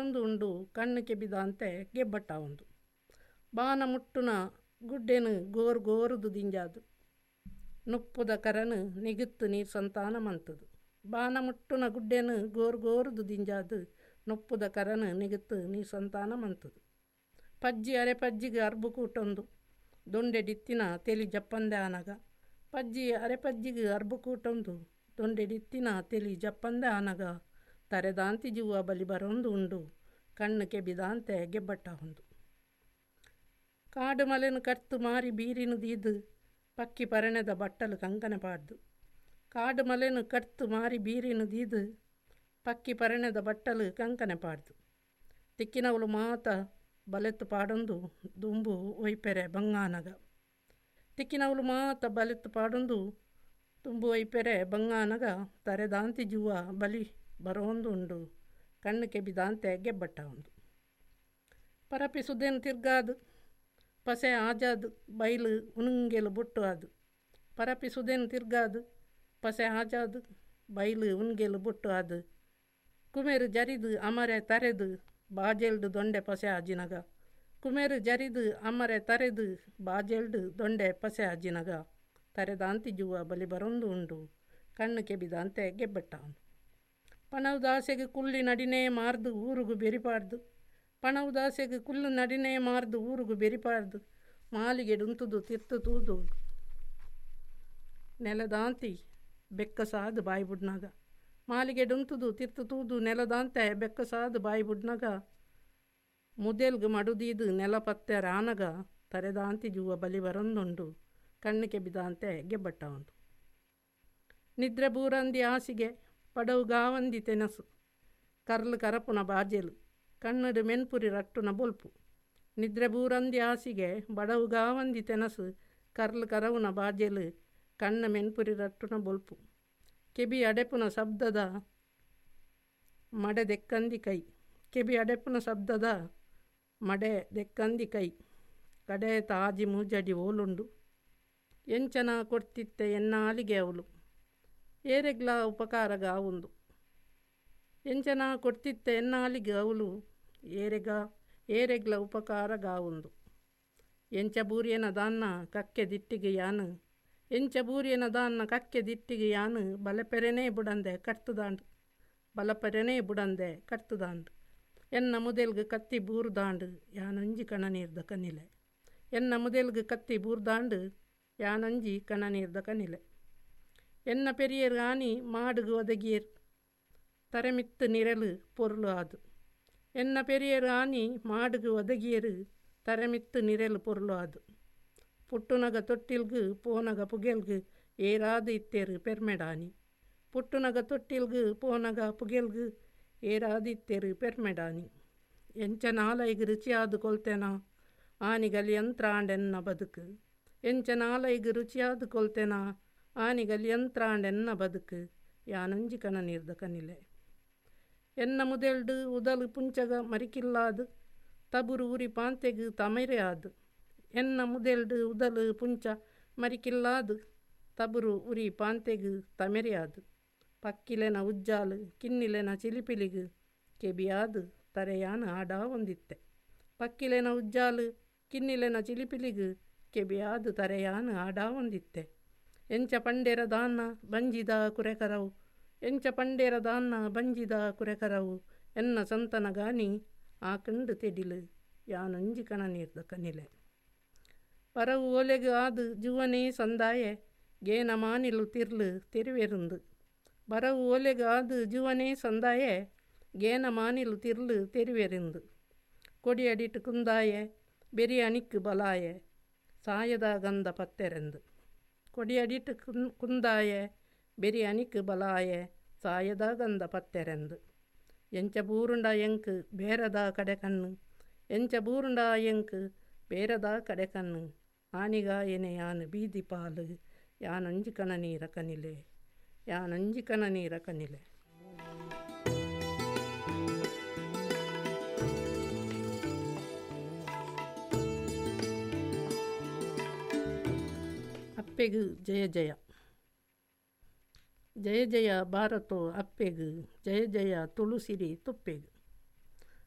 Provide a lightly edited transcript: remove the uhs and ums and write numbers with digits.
ಬರೊಂದು ಉಂಡು ಕಣ್ಣು ಕೆಬಿದಾಂತೆ ಗೆಬ್ಬಟ್ಟಾವುಂದು ಬಾನ ಮುಟ್ಟುನ ಗುಡ್ಡೆನ್ ಗೋರು ಗೋರುದು ದಿಂಜಾದ್ ನುಪ್ಪುದ ಕರನ್ ನಿಗುತ್ತು ನೀರ್ ಸಂತಾನ ಮಂತುದು ಬಾನ ಮುಟ್ಟುನ ಗುಡ್ಡೆನ್ ಗೋರು ಗೋರುದು ದಿಂಜಾದ್ ನುಪ್ಪುದ ಕರನ್ ನಿಗುತ್ತು ನೀರ್ ಸಂತಾನ ಮಂತುದು ಪಜ್ಜಿ ಅರೆ ಪಜ್ಜಿಗ್ ಅರ್ಬು ಕೂಟೊಂದು ದೊಂಡೆಡಿತ್ತಿನ ತೆಲಿ ಜಪ್ಪಂದೆ ಆನಗ ಪಜ್ಜಿ ಅರೆ ಪಜ್ಜಿಗ್ ಅರ್ಬು ಕೂಟೊಂದು ದೊಂಡೆಡಿತ್ತಿನ ತೆಲಿ ಜಪ್ಪಂದೆ ಆನಗ ತರೆದಾಂತಿ ಜೂವ ಬಲಿ ಬರೊಂದು ಉಂಡು ಕಣ್ಣು ಕೆಬಿದಾಂತೆ ಗೆಬ್ಬಟ್ಟಾವುಂದು ಕಾಡು ಮಲೆನ್ ಕರ್ತು ಮಾರಿ ಬೀರಿನ ದೀದು ಪಕ್ಕಿ ಪರಣೆದ ಬಟ್ಟಲು ಕಂಕನೆ ಪಾಡ್ದು ಕಾಡು ಮಲೆನ್ ಕರ್ತು ಮಾರಿ ಬೀರಿನ ದೀದು ಪಕ್ಕಿ ಪರಣೆದ ಬಟ್ಟಲು ಕಂಕನೆ ಪಾಡ್ದು ತಿಕ್ಕಿನವಳು ಮಾತ ಬಲೆತ್ತು ಪಾಡೊಂದು ದುಂಬು ಒಯ್ಪೆರೆ ಬಂಗಾನಗ ತಿಕ್ಕಿನವಳು ಮಾತ ಬಲೆತ್ತು ಪಾಡೊಂದು ತುಂಬು ಒಯ್ಪೆರೆ ಬಂಗಾನಗ ತರೆದಾಂತಿ ಜೂವ ಬಲಿ ಬರೋಂದು ಉಂಡು ಕಣ್ಣು ಕೆಬಿದಾಂತೆ ಗೆಬ್ಬಟ್ಟಾವುಂದು ಪರಪಿ ಸುದೇನು ತಿರ್ಗಾದು ಪಸೆ ಆಜಾದು ಬೈಲು ಉಣುಂಗೆಲು ಬೊಟ್ಟು ಅದು ಪರಪಿ ಸುದೇನು ತಿರ್ಗಾದು ಪಸೆ ಆಜಾದು ಬೈಲು ಉಣ್ಗೆಲು ಬೊಟ್ಟು ಅದು ಕುಮೇರು ಜರಿದು ಅಮರೆ ತರೆದು ಬಾಜೆಲ್ಡು ದೊಂಡೆ ಪಸೆ ಆಜಿನಗ ಕುಮೇರು ಜರಿದು ಅಮರೆ ತರೆದು ಬಾಜೆಲ್ಡು ದೊಂಡೆ ಪಸೆ ಆಜಿನಗ ತರೆದಾಂತಿ ಜೂವ ಬಲಿ ಬರೊಂದು ಉಂಡು ಕಣ್ಣು ಕೆಬಿದಾಂತೆ ಗೆಬ್ಬಟ್ಟಾವನು ಪಣವು ದಾಸೆಗ್ ಕುಲ್ಲಿ ನಡಿನೇ ಮಾರ್ದು ಊರುಗು ಬೆರಿಪಾಡ್ದು ಪಣವು ದಾಸೆಗ್ ಕುಲ್ಲು ನಡಿನೇ ಮಾರ್ದು ಊರುಗು ಬೆರಿಪಾಡ್ದು ಮಾಲಿಗೆಡುಂತುದು ತಿರ್ತು ತೂದು ನೆಲದಾಂತಿ ಬೆಕ್ಕಸಾದು ಬಾಯಿ ಬುಡ್ನಾಗ ಮಾಲಿಗೆಡುಂತುದು ತಿರ್ತು ತೂದು ನೆಲದಾಂತೆ ಬೆಕ್ಕಸಾದು ಬಾಯಿ ಬುಡ್ನಾಗ ಮುದೆಲ್ಗ್ ಮಡುದೀದು ನೆಲ ಪತ್ತೆ ರಾನಗ ತರೆದಾಂತಿ ಜೂವ ಬಲಿ ಬರೊಂದುಂಡು ಕಣ್ಣು ಕೆಬಿದಾಂತೆ ಗೆಬ್ಬಟ್ಟಾವುಂದು ನಿದ್ರೆ ಬೂರಂದಿ ಹಾಸಿಗೆ ಪಡವು ಗಾವಂದಿ ತೆನಸು ಕರ್ಲು ಕರಪುನ ಬಾಜೆಲು ಕಣ್ಣಡು ಮೆನ್ಪುರಿ ರಟ್ಟುನ ಬೊಲ್ಪು ನಿದ್ರೆ ಬೂರಂದಿ ಹಾಸಿಗೆ ಬಡವು ಗಾವಂದಿ ತೆನಸು ಕರ್ಲು ಕರವುನ ಬಾಜೆಲು ಕಣ್ಣ ಮೆನ್ಪುರಿ ರಟ್ಟುನ ಬೊಲ್ಪು ಕೆಬಿ ಅಡೆಪುನ ಶಬ್ದದ ಮಡೆ ದೆಕ್ಕಂದಿ ಕೈ ಕೆಬಿ ಅಡೆಪುನ ಶಬ್ದದ ಮಡೆ ದೆಕ್ಕಂದಿ ಕೈ ಕಡೆ ತಾಜಿ ಮೂಜಡಿ ಓಲುಂಡು ಎಂಚನ ಕೊಡ್ತಿತ್ತೆ ಎನ್ನಾಲಿಗೆ ಅವಳು ಏರೆಗ್ಲ ಉಪಕಾರಗಾವುಂದು ಎಂಚನ ಕೊಡ್ತಿತ್ತೆ ಎನ್ನಾಲಿಗೆ ಅವಳು ಏರೆಗ ಏರೆಗ್ಲ ಉಪಕಾರಗಾವುಂದು ಎಂಚ ಬೂರಿಯನ ದಾನ್ನ ಕಕ್ಕೆ ದಿಟ್ಟಿಗೆ ಯಾನು ಎಂಚ ಬೂರಿಯನ ದಾನ್ನ ಕಕ್ಕೆ ದಿಟ್ಟಿಗೆ ಯಾನು ಬಲಪೆರೆನೇ ಬುಡಂದೆ ಕಟ್ತುದಾಂಡು ಬಲಪೆರೆನೇ ಬುಡಂದೆ ಕಟ್ತುದಾಂಡು ಎನ್ನ ಮುದೆಲ್ಗ್ ಕತ್ತಿ ಬೂರ್ದಾಂಡು ಯಾನೊಂಜಿ ಕಣನೀರ್ದ ಕನಿಲೆ ಎನ್ನ ಮುದೆಲ್ಗ್ ಕತ್ತಿ ಬೂರ್ದಾಂಡು ಯಾನೊಂಜಿ ಕಣನೀರ್ದ ಕನಿಲೆ ಎನ್ನ ಪೆರಿಯರ್ ಆನಿ ಮಾಡುಗು ಒದಗಿಯರ್ ತರೆಮಿತ್ತು ನಿರಲು ಪೊರುಳು ಆದು ಎನ್ನ ಪೆರಿಯರ್ ಆನಿ ಮಾಡುಗು ಒದಗಿಯರು ತರೆಮಿತ್ತು ನಿರಲು ಪೊರುಳು ಆದು ಪುಟ್ಟುನಗ ತೊಟ್ಟಿಲ್ಗು ಪೋನಗ ಪುಗೆಲ್ಗು ಏರಾದು ಇತ್ತೇರು ಪೆರ್ಮೆಡಾನಿ ಪುಟ್ಟುನಗ ತೊಟ್ಟಿಲ್ಗು ಪೋನಗ ಪುಗೆಲ್ಗು ಏರಾದು ಇತ್ತೇರು ಪೆರ್ಮೆಡಾನಿ ಎಂಚ ನಾಲೈಗು ರುಚಿಯಾದು ಕೊಲ್ತೆನಾ ಆನಿಗಲಿ ಯಂತ್ರಾಂಡೆನ್ನ ಬದುಕು ಎಂಚ ನಾಲೈಗು ರುಚಿಯಾದು ಕೊಲ್ತೆನಾ ಆನಿಗಲಿ ಯಂತ್ರಾಂಡೆನ್ನ ಬದುಕು ಯಾನೊಂಜಿ ಕಣ ನೀರ್ದ ಕನಿಲೆ ಎನ್ನ ಮುದೆಲ್ಡು ಉದಲು ಪುಂಚಗ ಮರಿಕಿಲ್ಲಾದು ತಬುರು ಉರಿ ಪಾಂತೆಗು ತಮೈರೆ ಆದು ಎನ್ನ ಮುದೆಲ್ಡು ಉದಲು ಪುಂಚ ಮರಿಕಿಲ್ಲಾದು ತಬುರು ಉರಿ ಪಾಂತೆಗು ತಮೆರೆ ಆದು ಪಕ್ಕಿಲೆನ ಉಜ್ಜಾಲು ಕಿನ್ನಿಲೆನ ಚಿಲಿಪಿಲಿಗು ಕೆಬಿಯಾದು ತರೆಯಾನ ಆಡಾ ಒಂದಿತ್ತೆ ಪಕ್ಕಿಲೆನ ಉಜ್ಜಾಲು ಕಿನ್ನಿಲೆನ ಚಿಲಿಪಿಲಿಗು ಕೆಬಿಯಾದು ತರೆಯಾನ ಆಡಾ ಒಂದಿತ್ತೆ ಎಂಚ ಪಂಡೇರ ದಾನ್ನ ಬಂಜಿದ ಕುರೆಕರವು ಎಂಚ ಪಂಡೇರ ದಾನ್ನ ಬಂಜಿದ ಕುರೆಕರವು ಎನ್ನ ಸಂತನ ಗಾನಿ ಆಕಂಡು ತೆಡಿಲು ಯಾನೊಂಜಿ ಕಣ ನೀರ್ದ ಕನಿಲೆ ಪರವು ಓಲೆಗು ಆದು ಜುವನೇ ಸಂದಾಯೆ ಗೇನ ಮಾನಿಲು ತಿರ್ಲು ತೆರುವೆರುಂದು ಬರವು ಓಲೆಗು ಆದು ಜುವನೇ ಸಂದಾಯೆ ಗೇನ ಮಾನಿಲು ತಿರ್ಲು ತೆರುವೆರಿಂದು ಕೊಡಿಯಡಿಟ್ಟು ಕುಂದಾಯೆ ಬೆರಿಯಣಿಕ್ಕು ಬಲಾಯೆ ಸಾಯದ ಗಂಧ ಪತ್ತೆರೆಂದು ಕೊಡಿಯಡಿಟ್ಟು ಕುಂದಾಯೆ ಬೆರಿಯಣಿಕ್ಕು ಬಲಾಯೆ ಸಾಯದ ಗಂಧ ಪತ್ತೆರೆಂದು ಎಂಚ ಬೂರುಂಡ ಎಂಕ್ ಬೇರದ ಕಡೆ ಕಣ್ಣು ಎಂಚ ಬೂರುಂಡ ಎಂಕ್ ಬೇರದ ಕಡೆ ಕಣ್ಣು ಆನಿಗ ಎನೆ ಯಾನು ಬೀದಿ ಪಾಲು ಯಾನೊಂಜಿ ಕಣ ನೀರ ಕನಿಲೆ ಯಾನೊಂಜಿ ಕಣ ನೀರ ಕನಿಲೆ. ಅಪ್ಪೆಗು ಜಯ ಜಯ ಜಯ ಜಯ ಭಾರತೋ ಅಪ್ಪೆಗು ಜಯ ಜಯ ತುಳುಸಿರಿ ತುಪ್ಪೆಗು.